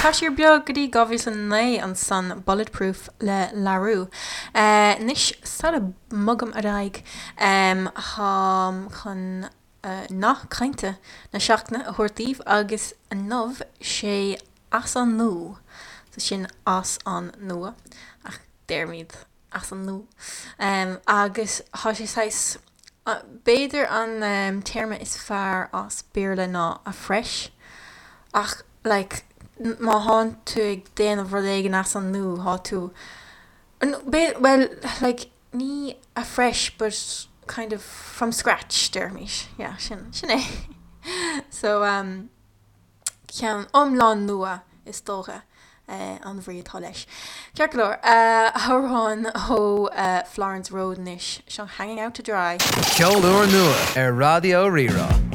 Tá siar beag go dtí 2009 ansan, Bulletproof le La Roux. Anois, sula mbogaim ar aghaidh, táim chun nath cainte na seachtaine a thabhairt daoibh agus inniu sé as an nua. So sin as an nua, ach deirimid as an nua. Agus tá sé saghas, b'fhéidir an téarma is fearr as Béarla ná afresh ach like má thánn tú ag déanamh rud éigin as an nua thá tú, bhuel like ní afresh but kind of from scratch déarfaimis, yeah sin, sin é. So um. ceann iomlán nua is dócha an bhrí atá leis. Ceart go leor, amhrán ó Florence Road anois, seo Hanging Out to Dry. Ceol úrnua ar Raidió Rí-Rá.